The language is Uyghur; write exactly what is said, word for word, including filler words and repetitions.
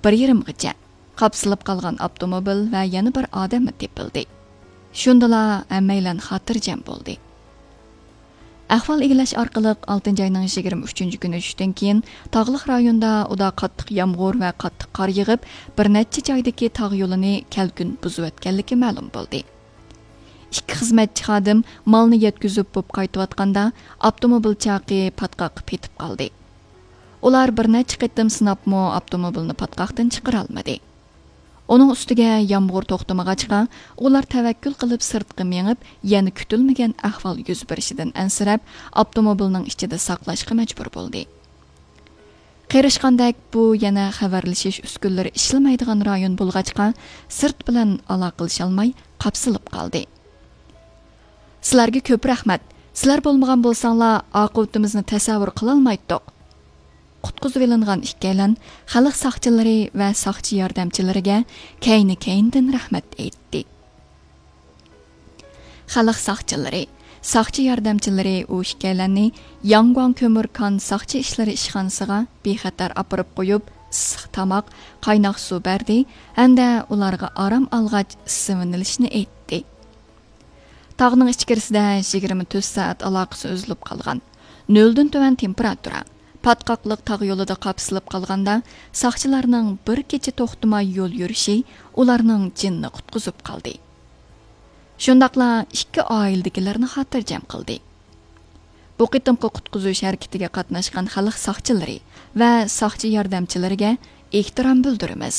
بىر يېرىمغىچە، قاپسىلىپ قالغان ئاپتوموبىل ۋە يەنە بىر ئادەممۇ تېپىلدى. شۇندىلا ھەممەيلەن خاتىرجەم بولدى. ئەھۋال ئىگىلەش ئارقىلىق ئالتىنچى ئاينىڭ يىگىرمە ئۈچىنچى كۈنى چۈشتىن كېيىن تاغلىق رايوندا ئۇدا قاتتىق يامغۇر ۋە قاتتىق قار يېغىپ، بىر نەچچە جايدىكى تاغ يولىنى كەلكۈن بۇزۇۋەتكەنلىكى مەلۇم بولدى. ئىككى خىزمەتچى خادىم مالنى يەتكۈزۈپ بوپ قايتىۋاتقاندا، ئاپتوموبىل چاقى پاتقاققا پېتىپ قالدى. ئۇلار بىر نەچچە قېتىم سىناپمۇ ئاپتوموبىلنى پاتقاقتىن چىقىرالمىدى. ئۇنىڭ ئۈستىگە يامغۇر توختىمىغاچقا، ئۇلار تەۋەككۈل قىلىپ سىرتقا مېڭىپ، يەنە كۈتۈلمىگەن ئەھۋال يۈز بېرىشىدىن ئەنسىرەپ، ئاپتوموبىلنىڭ ئىچىدە ساقلاشقا مەجبۇر بولدى. قېرىشقاندەك بۇ يەنە خەۋەرلىشىش ئۈسكۈنىلىرى ئىشلىمەيدىغان رايون بولغاچقا، سىرت بىلەن ئالاقىلىشالماي قاپسىلىپ قالدى. سىلەرگە كۆپ رەھمەت. سىلەر بولمىغان بولساڭلار، ئاقىۋىتىمىزنى تەسەۋۋۇر قىلالمايتتۇق. قۇتقۇزۇۋېلىنغان ئىككىيلەن خەلق ساقچىلىرى ۋە ساقچى ياردەمچىلىرىگە كەينى-كەينىدىن رەھمەت ئېيتتى. خەلق ساقچىلىرى، ساقچى ياردەمچىلىرى ئۇ ئىككىيلەننى ياڭگۇاڭ كۆمۈر كان ساقچى ئىشلىرى ئىشخانىسىغا بىخەتەر ئاپىرىپ قويۇپ، ئىسسىق تاماق، قايناق سۇ بەردى ھەمدە ئۇلارغا ئارام ئالغاچ ئىسسىۋىنىلىشنى ئېيتتى. تاغنىڭ ئىچكىرىسىدە يىگىرمە تۆت سائەت ئالاقىسى ئۈزۈلۈپ قالغان، نۆلدىن تۆۋەن تېمپېراتۇرا، پاتقاقلىق تاغ يولىدا قاپسىلىپ قالغاندا، ساقچىلارنىڭ بىر كېچە توختىماي يول يۈرۈشى ئۇلارنىڭ جېنىنى قۇتقۇزۇپ قالدى. شۇنداقلا ئىككى ئائىلىدىكىلەرنى خاتىرجەم قىلدى. بۇ قېتىمقى قۇتقۇزۇش ھەرىكىتىگە قاتناشقان خەلق ساقچىلىرى ۋە ساقچى ياردەمچىلىرىگە ئېھتىرام بىلدۈرىمىز.